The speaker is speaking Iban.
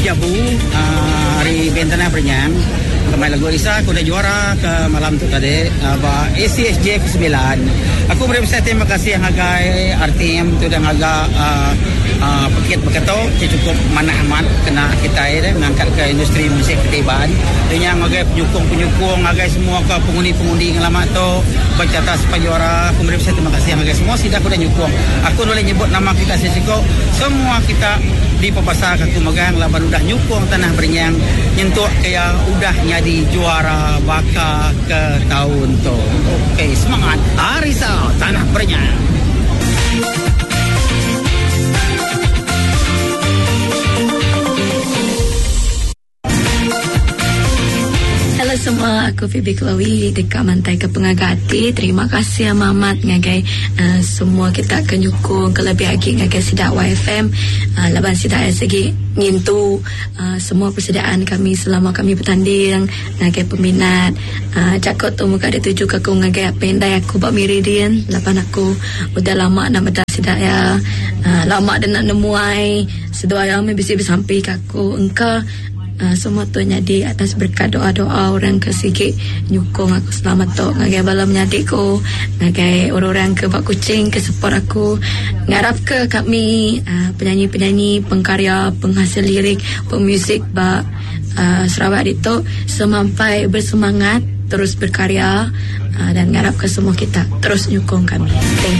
Jabu ari band Tanah Berenyang kemai lagu Risa ke udah juara ke malam tu tadi ba ACSJ ke semilan. Aku meri besai terima kasih ngagai RTM ti udah ngaga pekit baka tu ti chukup manah amat kena kitai deh ngangkatka industri muzik kitai Iban. Nya ngagai penyukung-penyukung ngagai semua ke pengundi-pengundi ngelama tu ba carta sepa juara aku meri besai terima kasih ngagai semua sida ke udah nyukung. Aku enda ulih nyebut nama kita siko-siko semua kita dipebasaka aku megang laban udah nyukung Tanah Berenyang nyentuk ke iya udah nyadi juara baka ke taun tu. Okey semangat Arisa Tanah Berenyang. Hello semua, aku Phoebe Chloe deka mantaika pengaga ati. Terima kasih amat amat ngagai uh, semua kita ke nyukung kelebih agi ngagai sida YFM uh, laban sida iya sigi ngintu uh, semua persediaan kami selama kami betanding ngagai peminat. Uh, jaku tu mega ditujuka aku ngagai apai indai aku ba Miri din laban aku udah lama enda meda sida iya uh, lama deh enda nemuai seduai iya meh bisi besampi ka Ku engka semua tu nyadi atas berkat doa-doa orang ke sigi nyukung aku selama tu ngagai bala menyadi ku ngagai orang-orang ke ba Kuching ke support aku. Ngarapka kami penyanyi-penyanyi, pengkarya, penghasil lirik, pemuzik ba Sarawak ditu semampai bersemangat terus berkarya dan ngarapka semua kita terus nyukung kami. Thank.